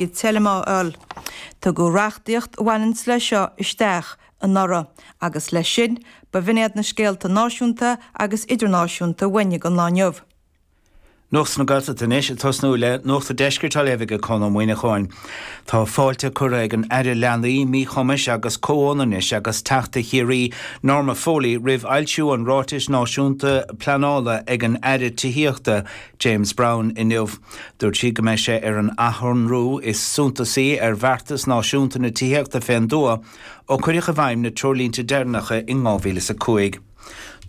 Iad teilm á fháil. Tugadh reachtaíocht a bhaineanns leis seo isteach anuraidh agus leis sin, ba bh'in iad na scéalta náisiúnta agus idirnáisiúnta uainne don lá inniu. Nuacht na Gaeltachta anois, ag tosnú le Nuacht an Deiscirt á léamh ag Conn Ó Muíneacháin. Tá fáilte curtha ag an Aire Leanaí, Míchumais agus Comhionannais agus Teachta Chiarraí, Norma Foley, roimh fhoilsiú an Ráitis Náisiúnta Pleanála ag an Aire Tithíochta, James Browne, inniu. Dúirt sí go mbeidh sé ar an athshonrú is suntasaí ar bheartas náisiúnta na tithíochta fén dtuath ó cuireadh i bhfeidhm na treoirlínte deireanacha in 2005.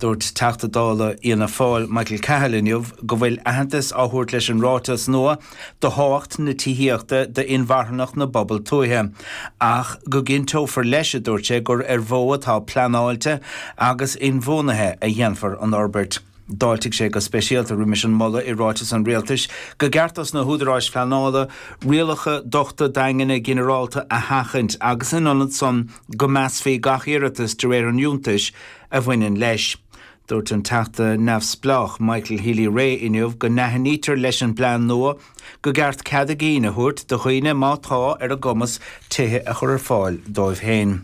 Dúirt Teachta Dála Fhianna Fáil Michael Cahill inniu go bhfuil aitheantas á thabhairt leis an ráiteas nua do thábhacht na tithíochta d'inmharthanacht na bpobal tuaithe ach go gcinnteofar leis, a dúirt sé, gur ar mhodh atá pleanáilte agus inbhuanaithe a dhéanfar an fhorbairt. D'fháiltigh sé go speisialta roimis an moladh i ráiteas an Rialtais go gceart dos na húdaráis phleanála rialacha dochta daingne ginearálta a sheachaint agus in ionad san go measfaí gach iarratas de réir an fhiúntais a bhaineann leis. Dúirt an Teachta neamhspleách Michael Healy-Rae inniu go n-aithnítear leis an bplean nua go gceart cead a gcinn a thabhairt do dhaoine má tá ar a gcumas tithe a chur ar fáil dóibh féin.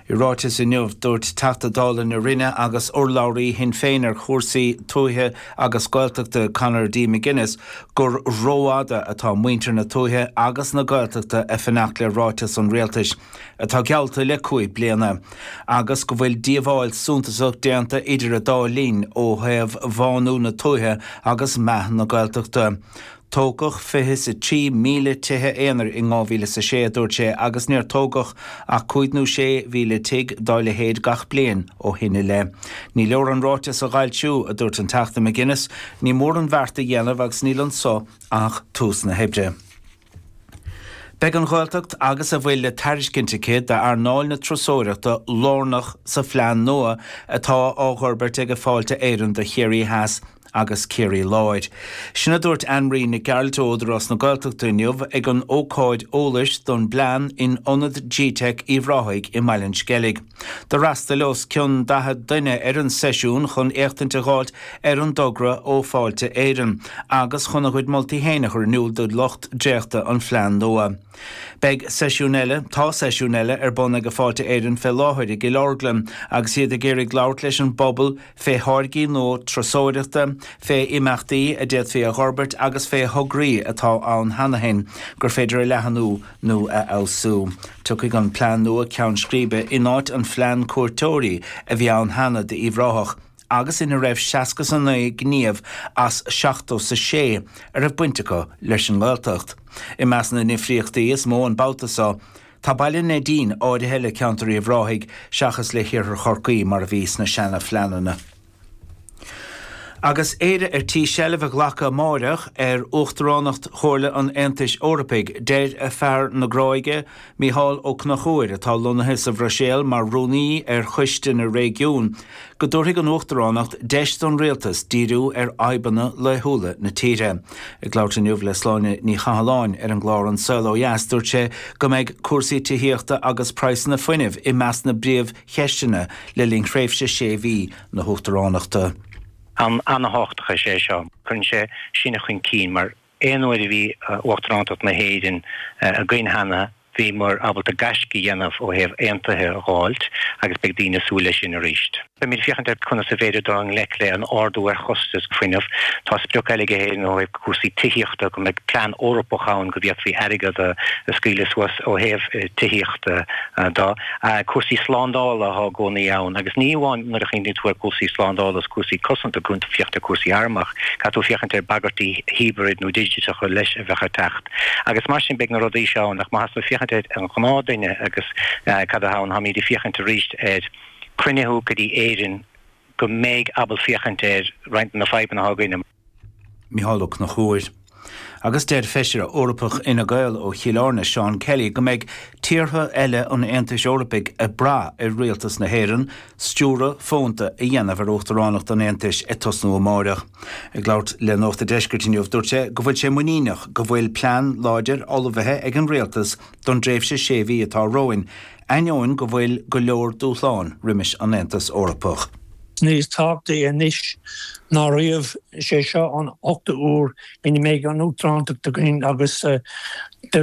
I ráiteas inniu, dúirt Teachta Dála na Rinne agus urlabhraí Shinn Féin ar chúrsaí tuaithe agus Gaeltachta Conor D McGuinness gur rófhada atá muintir na tuaithe agus na Gaeltachta ag fanacht le ráiteas an Rialtais atá geallta le 5 bliana agus go bhfuil díobháil suntasach déanta idir an dá linn ó thaobh bhánú na tuaithe agus meath na Gaeltachta. Tógadh 23,000 tithe aonair in 2006, a dúirt sé, agus níor tógadh ach 5 nó 6,000 tigh dá leithéid gach bliain ó shin i leith. Ní leor an ráiteas a fhoilsiú, a dúirt an Teachta McGuinness, ní mór an bheart a dhéanamh agus níl anso ach tús na hoibre. Beidh an Ghaeltacht agus a bhfuil le tairiscint aici d'earnáil na turasóireachta lárnach sa phlean nua atá á fhorbairt ag Fáilte Éireann do Chiarraí Theas agus Ciarraí Láir. Sin a dúirt Anne Marie Nic Gearailt ó Údarás na Gaeltachta inniu ag an ócáid eolais don bplean in Ionad Gteic Uíbh Ráthaigh i mBaile an Sceilg. D'fhreastail os cionn 40 duine ar an seisiún chun éachtaint a dh'fháilt ar an dtogra ó Fáilte Éireann agus chun a gcuid moltaí féin a chur in iúl do lucht dréachta an phlean nua. Beidh seisiún eile, tá seisiún eile ar bun ag Fáilte Éireann fé láthair i gCill Orglan agus iad ag iarraidh labhairt leis an bpobal fé tháirgí nua turasóireachta, fé imeachtaí a d'fhéadfaí a dh'fhorbairt agus fé thograí atá ann cheana féin gur féidir a leathanú nó a fheabhsú. Tiocfaidh an plean nua ceann scríbe in áit an phlean cuairteoirí a bhí ann cheana d'Uíbh Ráthach. agus ina raibh 69 gníomh as 76 a raibh baint acu leis an nGaeltacht. I measc na ndifríochtaí is mó an babhta seo, tá Baile Neidín áirithe le ceantar Uíbh Ráthaigh seachas le hiarthar Chorcaí mar a bhí sna seana-phleananna. Agus Éire ar tí seilbh a ghlacadh amáireach ar Uachtaránacht Chomhairle an Aontais Eorpaigh, deir fear na Gráige, Mícheál Ó Conchúir, atá lonnaithe sa Bhruiséil mar Rúnaí ar Choiste na Réigiún, go dtabharfaidh an Uachtaránacht deis don Rialtas díriú ar fhadhbanna laethúla na tíre. Ag labhairt inniu le Sláine Ní Chathalláin ar an gclár An Saol Ó Dheas, dúirt sé go mbeidh cúrsaí tithíochta agus praghsanna fuinnimh i measc na bpríomhcheisteanna le linn thréimhse sé mhí na hUachtaránachta. An-thábhachtach is é seo. Cuireann sé sinne chun cinn mar Aon uair a bhí Uachtarántacht na hÉireann againn cheana, bhíomar ábalta gaisce a dhéanamh ó thaobh aontuithe a dh'fháilt agus beidh daoine ag súil leis sin arís. Beimid ag féachaint ar conas is féidir dul i ngleic le an ardú ar chostas fuinnimh. Tá sprioc eile ag Éirinn ó thaobh cúrsaí tithíochta, go mbeidh plean Eorpach ann go bhféadfaí airgead a scaoileadh suas ó thaobh tithíochta de. Cúrsaí slándála atá i gcónaí ann agus ní amháin nuair a chuimhníonn tú ar chúrsaí slándála is cúrsaí cosanta, caithfidh tú féachaint ar chúrsaí arm ach caithfidh tú féachaint ar bhagairtí hibrid nó digiteacha leis a bheadh ag teacht. Agus mar sin beidh na rudaí seo ann ach má thá tú ag féachaint ar an ghnáthduine agus cad atá ann, táimid ag féachaint arís ar cruinnithe go dtí Éirinn go mbeidh ábalta féachaint ar roinnt de na fadhbanna atá againne. Mícheál Ó Conchúir. Agus deir Feisire Eorpach Fhine Gael ó Chill Airne, Seán Kelly, go mbeidh tíortha eile an Aontais Eorpaigh ag brath ar rialtas na hÉireann stiúradh fónta a dhéanamh ar Uachtaránacht an Aontais ag tosnú amáireach. Ag labhairt le Nuacht an Deiscirt inniu, dúirt sé go bhfuil sé muiníneach go bhfuil plean láidir ullmhaithe ag an rialtas don dtréimhse sé mhí atá romhainn, ainneoin go bhfuil go leor dúshlán roimis an Aontas Eorpach. Níos tábhachtaí anois ná riamh, is é seo an ochtú huair ina mbeidh an Uachtarántacht againn agus de.